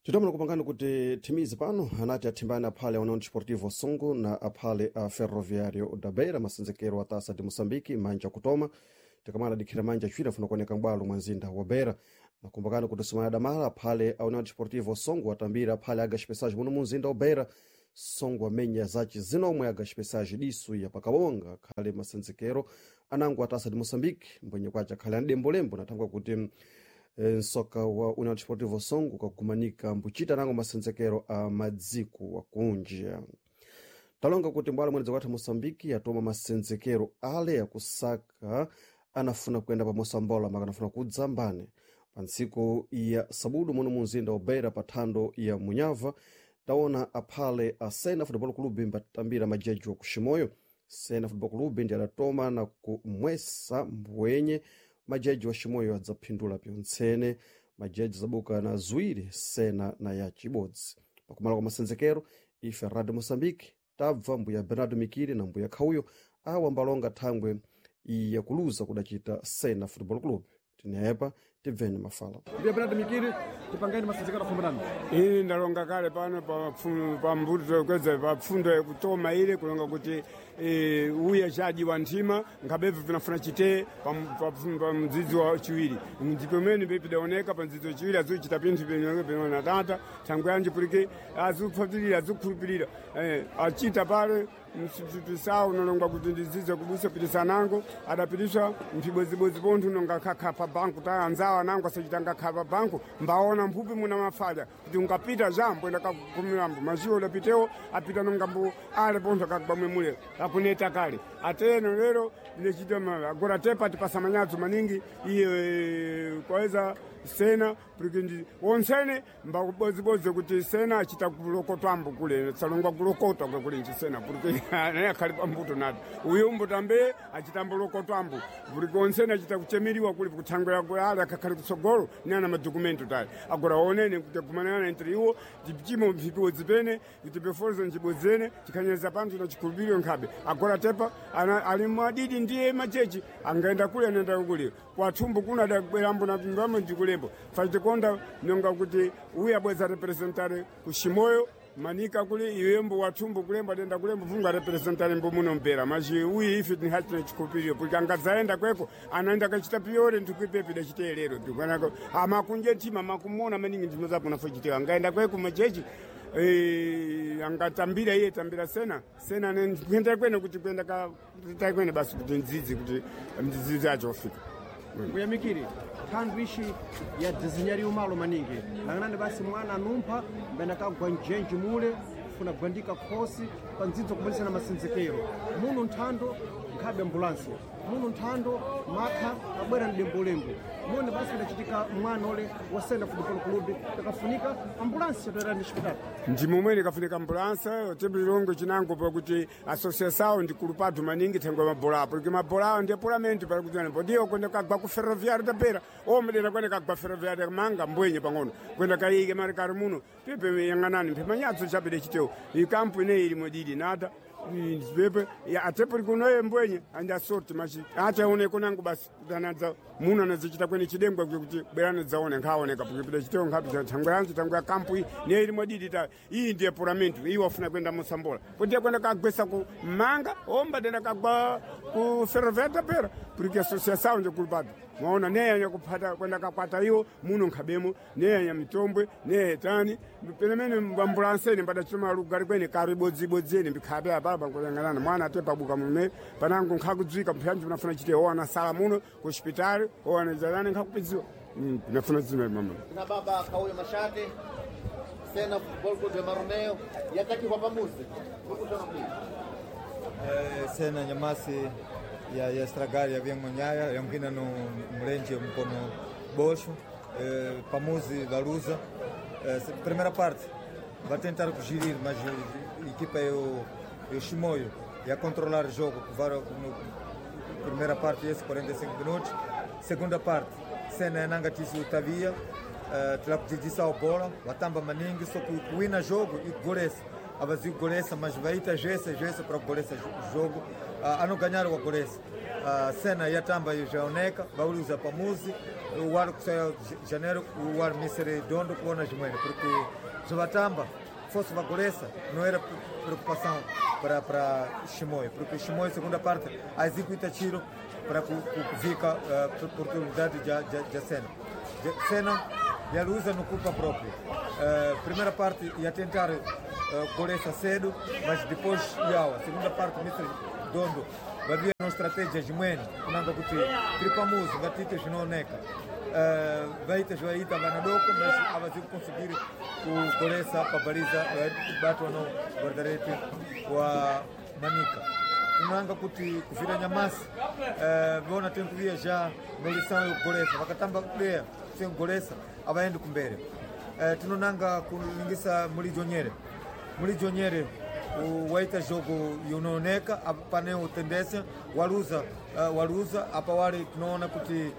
Titomera kupangani kuti thimizi pano anati athimbani aphale a União Desportivo Songo na aphale a Ferroviário da Beira, masenzekero a taça de Moçambique, manja kutoma tikamala dikhira manja acwiri afuna kuoneka m'bwalo mwa mzinda wa Beira. Nakumbukani kuti somana damala aphale a União Desportivo Songo atambira aphale a Gaspessage muno mu mzinda wa Beira. Songo amenya zaci zinomwe a Gaspessage disu ya pakabonga akhale masenzekero anango a taça de Moçambique, mbwenye kwace akhale anadembolembo nathangwa kuti nsoka wa União Desportivo Songo kakumanika mbuchita nango masenzekero a madziko akunja. Talonga kuti mbwalo mwene zakwathu Moçambique yatoma masenzekero ale akusaka anafuna kuyenda pa mosambola makanafuna kudzambane pa ntsiku ya sabudu muno mu mzinda wa Beira pa thando ya Munyava. Taona aphale a Sena Football Club mbatambira majeji wa kuximoyo. Sena Football Club ndi adatoma na kumwesa mbwenye majaji wa ximoyo adzaphindula pyontsene. Majaji zabuka na ziwiri Sena na ya chibodzi. Pakumala kwa masenzekero, ife Radio Moçambique tabva mbuya Bernardo Mikiri na mbuya Khauyo awa mbalonga thangwe yakuluza kudacita Sena Football Club. Tinepa tibveni mafala. Mbuya Bernardo Mikiri, tipangani masenzekero afumbanani. Ini ndalonga kale pano pa mbuto kweza pa pfundo yakutoma ile kulonga kuti uya chaji wa nthima nkhabevu vinafuna chitee pa mdzidzi wa chiwiri ndipo imene pidaoneka pa mdzidzi wa chiwiri azuchita pinthu penona tata thangwe yanji pulike azupfatirira azukhulupirira achita pale msipitisawo nalongwa kuti ndidzidze kubusa pitisanango adapitiswa mphibodzibodzi pontho nonga khakha pa banku ta anzawo anango asachitanga kha pa banku mbaona mphupi muna mafalya kuti ungapita jambo enda kakumirambo maziwo udapitewo apita nonga mbu ale pontho akagwamwe mule akuneta kale ateno lero ndinechita agora tepa tipasamanyadzo maningi iye kwaweza sena purikindi wonsene mbakubodzibodzi kuti sena achita kulokotwambo kule salongwa kulokotwa kwekulinji sena puriki naye akhali pambuto nato uyu mbutambe achitambo lokotwambo puriki wonsene achita kuchemeriwa kuli kuthangwera kule akakhali kutsogolo ni ana madokumento tali agora onene kuti agumanana entre iwo tichimo mphipiwo zipene kuti pefozo nchibodzene tikhanyeza panthu na chikhulupiriro nkhabe agora tepa ali mwadidi ndiye machechi angaenda kule anaenda kule kwathumbu kuno adabwerambo na mbamo ndikulembo fatikonda nonga kuti uyu abweza representare kuximoyo manika kuli iwembo wathumbu kulembo adenda kulembo vunga representare mbo muno mpera maji uyu ife tinhatina chikhulupiriro porque angadzaenda kweko anaenda kachita piyore ndikuipepi dachiteelero ndikanako amakunje ntima makumona maningi ndimo zapo nafochitewa angaenda kweko machechi angatambira iye tambira sena sena kuenda kwene kuti kuenda ka kwene basi kuti ndzidzi kuti mdzidzi acho ofika. Mbuya Mikiri, thando ixi ya desenhariwa malo maningi lang'anani basi mwana anumpha mbene akagwa njenji mule funa gwandika khosi pa ndzidzo kubudisana masenzekero muno nthando nkhabe ambulansi muno nthando makha abwera mdembolembo muno basi kudachitika mwana ule wa Sena Football Club takafunika ambulansi chatoera ndi chipatala. Ndi momwene kafunika ambulansa tibulilongo chinango pakuti associação ndi kulupatu maningi thengwe mabola apo porque mabola awo ndiye pulamento pali kuti podiyo kwenda kagwa ku ferroviário da Beira omwe kwenda kagwa ferroviário manga mbwenye pang'ono kwenda kayike mali kali muno pipe yang'anani mphimanyatso chapide chitewo ikampu ineyi ili modidi nata pepe atepuri kunoye mbwenye andi asorti machi achaoneko nangu basi anadza muno anadzichita kwene chidengwa kuti bwerana dzaone nkhaoneka pukipita chitewo nkhapi thangwe yanji thangwe ya kampu iyi niye ili modidi ta iyi ndiye pulamento iyi wafuna kwenda mosambola kuti kwenda kagwesa ku manga omba denda kagwa ku ferroviário da Beira porque associação nje kulupatu mwaona neyanya kuphata kwenda kakwata iwo muno nkhabemo neyanya mitombwe neyetani penemene ambulansene mbadachitoma lugari kwene kari bodzibodziene mbikhabe apapa nkuyang'anana mwana ate pabuka mume panango nkhakudzwika mphanji unafuna chite owana sala muno ku hospitali owana zalani nkhakupidziwa nafuna zina mama na baba Kauyo Mashate Sena Football Club ya Maromeo yatakiwa pamuzi Sena nyamasi ya estragar ya vyangonhaya yangina no mlenje mkono boxo pamuzi valuza primeira parte vai tentar gerir, mas a equipa é o Chimoio e a controlar o jogo no primeira parte esse 45 minutos. Segunda parte Sena nanga tisu tavia tilakujijisa bola watamba maningi só que kuwina jogo e golesa avazio golesa, mas vai ita gesa gesa para golesa jogo a não ganhar o golesa. Cena yatamba yaoneka vauluza pamuzi wari kusaya janeiro wari misere dondo kuona zimwene porque zvatamba fosse vagolesa não era preocupação para Chimoio, porque Chimoio segunda parte executa tiro para que fica oportunidade de cena. Cena yaluza no culpa própria. Primeira parte ia tentar golesa cedo, mas depois ia. Segunda parte Mr. Dondo havia uma estratégia de mwene kunanga kuti tiri pamuzi ngatite zvinooneka vaita zvaita vanadoko mas avazi kuconseguir kugolesa pabaliza kubatwa no guardarete wa Manica kunanga kuti kuvira nyamasi vona tem kuvia já nolição yokugolesa vakatamba kudeya sem kugolesa avaendi kumbere. Tinonanga kulingisa mulijonyere waita jogo yunooneka pane tendência waluza waluza apa wali tinoona kuti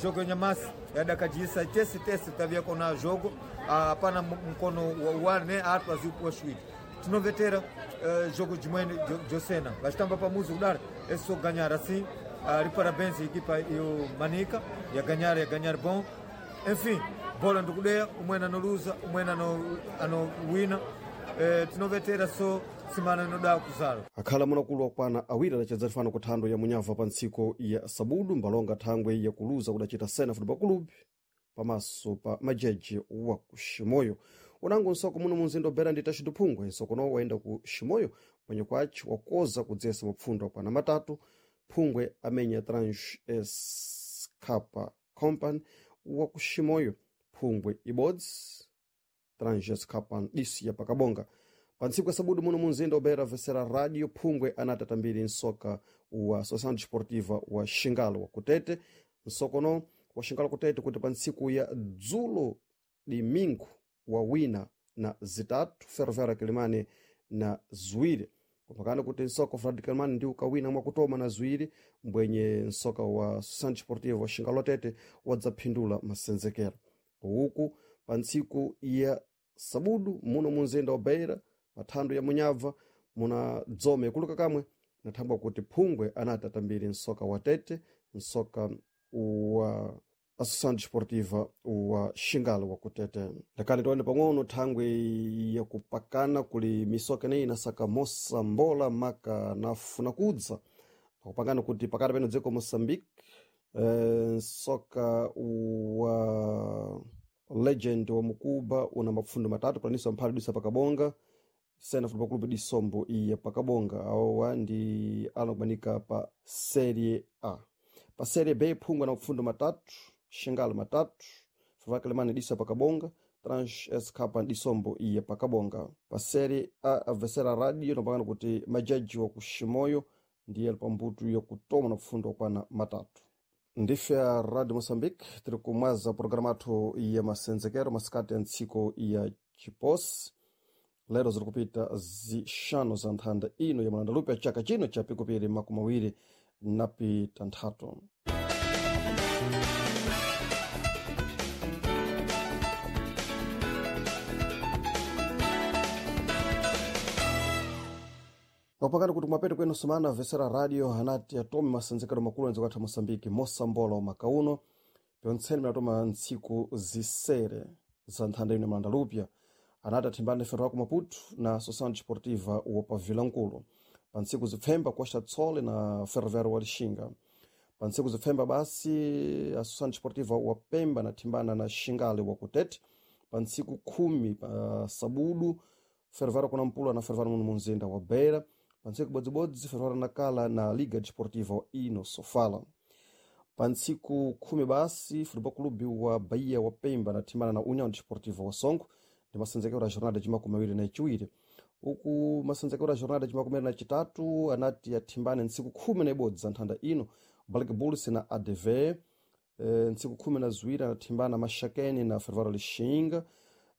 jogo nyamasi yadakajisa tese tese tavia kona jogo apana mkono wane atu aziupuwa shwiti tinovetera jogo jimwene josena vachitamba pamuzi kudara eso ganhar assim ri parabéns equipa yo Manica ya ganhar bom enfim bola ndikudeya umwene anoluza umwene anowina tinovetera so simana inoda kuzala akhala munakulu akwana awiri adachedza tifano ku thando ya munyava pa ntsiko ya sabudu mbalonga thangwe yakuluza kudacita sena football club pamaso pa majeji wa ku Ximoyo unango nsoko muno munzinda obera ndi Tachido Phungwe nsokono wayenda ku Ximoyo mwenye kwace wakoza kudzesa mapfundo akwana matatu Phungwe amenya Trans S Kappa Company wa ku Ximoyo Phungwe ibodzi Trans S Kappa disi ya pakabonga pa ntsiku ya sabudu muno munzinda obera vesera radio Phungwe anati nsoka wa Associação Desportiva wa Xingalo wa Kutete nsokono wa Xingalo Kutete kuti pa ntsiku ya dzulo domingo wa wina na zitatu Ferroviário Kilimani na ziwiri kumpakana kuti nsoka Frad Kilimani ndi ukawina mwakutoma na ziwiri mbwenye nsoka wa Associação Desportiva wa Xingalo Tete wadzaphindula masenzekero uku pa ntsiku ya sabudu muno munzinda wa Beira pathando ya munyabva muna dzome kuluka kamwe nathambwa kuti Phungwe anati atambiri nsoka wa Tete nsoka wa Associação Desportiva wa Xingalo wa Kutete lakani tione pang'ono thangwe yakupakana kuli misoka ineyi inasaka mosambola maka nafuna kudza nakupangana kuti pakati peno dziko Moçambique nsoka wa legend wa mukuba una mapfundo matatu palaniso amphali disa pakabonga Sena Football Club di Sombo iya pakabonga awa ndi anakumanika pa Serie A. Pa Serie B Phungwe na mapfundo matatu Xingalo matatu Ferroviário Quelimane disa pakabonga Trans SK di Sombo iya pakabonga. Pa Serie A avesera radio napakana kuti majaji wa ku Ximoyo ndiye ali pambuto yakutoma na pfundo kwana matatu. Ndife a Radio Moçambique tiri kumwaza programa athu ya masenzekero masikati ya ntsiko ya chiposi lero ziri kupita zixanu za nthanda ino ya malandalupi ya chaka chino cha pikupiri makumi awiri na pitanthatu. Pakati kuti kumapeto kwenu sumana vesera radio anati atome masenzekero makulu anziko atha Moçambique mosambola makauno pyontseni minatoma ntsiku zisere za nthanda ino ya malandalupya anati athimbane ferro ku Maputo na Associação Desportiva wa Pavilankulu pa ntsiku zipfemba Costa Tsole na Ferroviário wa Lixinga pa ntsiku zipfemba basi Associação Desportiva wa Pemba nathimbana na Xingale wa Kutete pa ntsiku khumi pa sabudu Ferroviário kunampula na Ferroviário muno munzinda wa Beira pa ntsiku bodzibodzi Ferroviário Nacala na Liga Desportiva wa Ino Sofala pa ntsiku khumi basi Futebol Clube wa Bahia wa Pemba nathimbana na União Desportiva wa Songo ndi masenzekero a jornada de makumi awiri na chiwiri uku masenzekero a jornada de makumi awiri na chitatu anati athimbane ntsiku khumi na ibodzi za nthanda ino Black Bulls na ADV ntsiku khumi na ziwiri anathimbana Maxakeni na Ferroviário Lixinga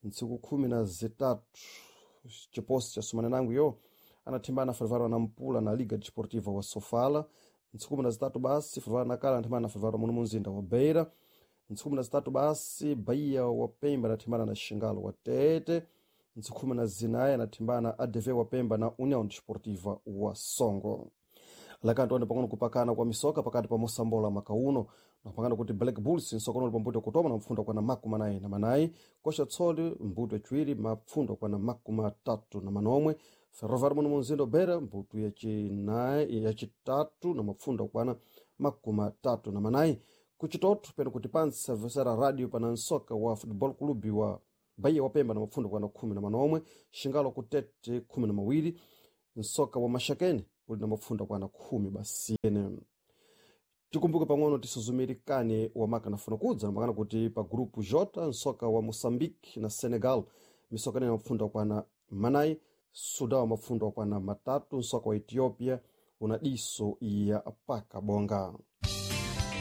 ntsiku khumi na zitatu chiposi cha sumana nangu yo anathimbana Ferroviário Nampula na Liga Desportiva wa Sofala ntsiku khumi na zitatu basi Ferroviário Nacala anathimbana na Ferroviário muno munzinda wa Beira ntsiku khumi na zitatu basi Bahia wa Pemba anathimbana na Xingalo wa Tete ntsiku khumi na zinayi anathimbana ADV wa Pemba na União Desportiva wa Songo. Lakani tione pang'ono kupakana kwa misoka pakati pa mosambola makauno napangana kuti Black Bulls nsokono uli pambuto kutoma na mfundo kwana 44, Kosha Tsoli mbuto yachiwiri mapfundo kwana 36. Ferroviário muno munzindo Beira mbuto yachinayi yachitatu na mapfundo kwana 34. Kuchitoto peno kuti pansi vesera radio pana nsoka wa Football Club wa Bahia wa Pemba na mapfundo kwana 11, Shingalo kutete 12, nsoka wa Mashakeni uli na mapfundo kwana 10 basi ene. Tikumbuke pang'ono tisuzumirikane wamaka nafuna kudza namakana kuti pa grupu J nsoka wa Moçambique na Senegal misoka ine mapfundo akwana 4, Sudan wa mapfundo akwana 3, nsoka wa Ethiopia una diso ya paka bonga.